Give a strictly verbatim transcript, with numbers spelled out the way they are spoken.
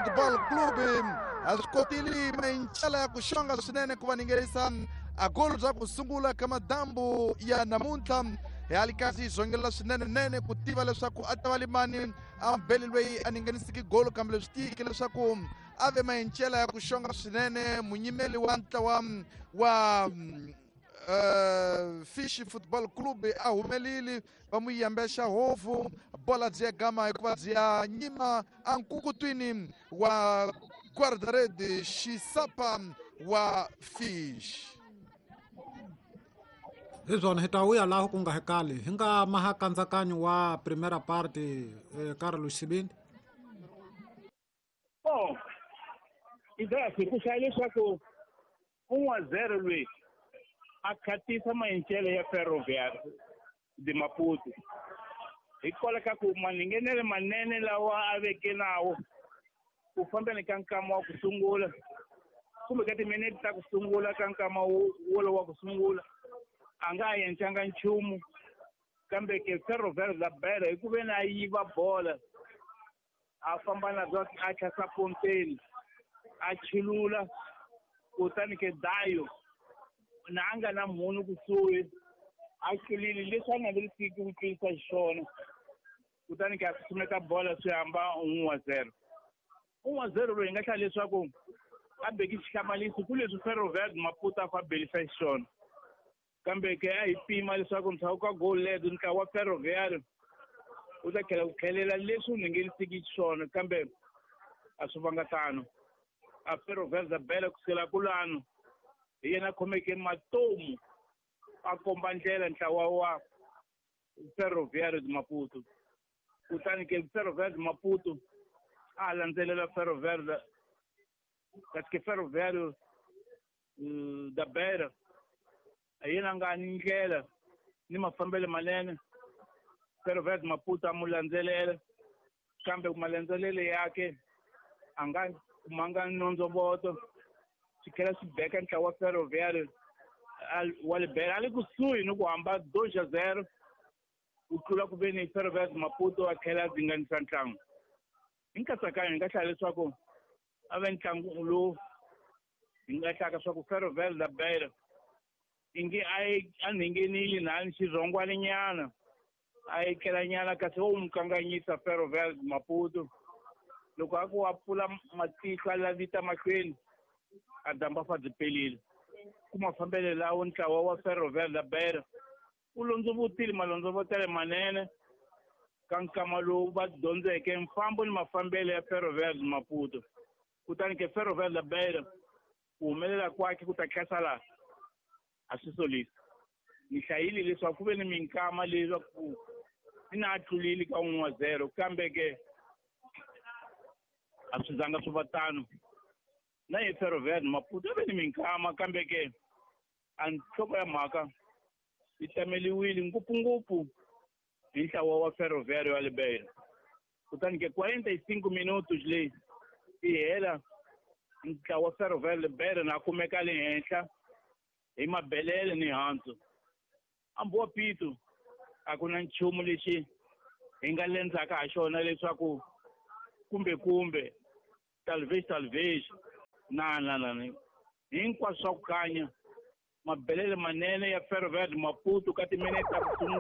Football Club. A swi kotile Mayincela ya ku xonga swinene ku va ningerisa a golo bya ku sungula ka madambu ya namuntlha. Hi ali kasi hi zongelela swinene nene ku tiva leswaku a ta va limani a mbeli loyi a ningenisiki golo, kambe leswi tiyeke leswaku a ve Mayincela ya ku xonga swinene munyimeli wa ntlawa wa Uh, Fish Football Club a humelile va n'wi yambexa hofu bola byi ya gama hikuva byi ya nyima ankukutwini wa guarda-rede Xisapa wa Fish. Hi swona hi ta vuya laha ku nga hekali hi nga maha kandzakanyo wa primera parte eh, Carlos Xibindi. Oh, Isaac, ku hlaya leswaku un'wa zero loyi a khatisa Mayincele ya Ferroviário de Maputo hikwalaho ka ku maninghenele manene lawa a veke nawo ku fambeni ka nkama wa ku sungula kumbe ka timinete ta ku sungula ka nkama wolowo wa ku sungula a nga ha endlanga nchumu, kambe ke Ferroviário da Beira hi ku ve ni a yiva bola a famba na byo a tlhasa ponteni a chulula, kutani ke Dayo na a nga na munhu kusuhi a tlulile leswi a navelisiki ku tlulisa xiswona, kutani ke a susumeta bola swi hamba un'we wa zero. Un'we wa zero loyi hi nga hlaya leswaku a beki xihlamaliso ku leswi Ferroviário de Maputo a fa belisa xiswona, kambe ke a hi pima leswaku ndzhaku ka goal leto ntlawa wa Ferroviário wu ta tlhela ku tlhelela leswi wu nghenisiki xiswona, kambe a swi vanga tano. A Ferroviário da Beira kusukela kulano hi yena a khomeke matomu a komba ndlela ntlawa wa Ferroviário de Maputo, kutani ke Ferroviário de Maputo a landzelela Ferroviário kasi ke Ferroviário da Beira a yena nga ni ndlela ni mafambelo manene. Ferroviário de Maputo a mu landzelela, kambe malandzelelo yake a nga kumanga nondzovoto, swi tlhela swi beka ntlawa wa Ferroviário wa le Beira a le kusuhi ni ku hamba dois a zero ku tlula ku ve ni Ferroviário de Maputo a tlhela a dzinganisa ntlangu. Hi nkatsakanyo hi nga hlaya leswaku a ve ntlangu lowu hi nga hlaka swa ku Ferroviário da Beira inge a a nghenile na ni xirhongwaninyana a etlelanyana, kasi wo n'wi kanganyisa Ferroviário de Maputo. Loko a ku a pfula matihlo a lavita mahlweni a damba fa byi pelile. Ku mafambelo lawo ntlawa wa Ferroviário da Beira wu londzovotile malondzovotelo manene ka nkama lowu va dyondzeke mfambo ni mafambelo ya Ferroviário de Maputo. Kutani ke Ferroviário da Beira ku humelela kwakhe ku ta tlhasa laha a swi solisa. Ni hlayile leswaku ku ve ni minkama leswaku ni na a tlulile ka un'we wa zero, kambe ke a swi zanga swi va tano. Na hi Ferroviário de Maputo ve ni minkama, kambe ke a nhloko ya mhaka yi tameliwile ngopfungopfu hi ntlawa wa Ferroviário wa le Beira. Kutani ke quarenta e cinco minutos leyi yi hela ntlawa wa Ferroviário le Beira na kumeka le henhla hi mabelele ni handzu. Ambuwa Pito a ku na nchumu lexi hi nga lendzaka ha xona leswaku kumbe kumbe talvez talvez na na na hinkwaswo swa ku kanya mabelele manene ya Ferroviário de Maputo ka timinete ta ku sungula.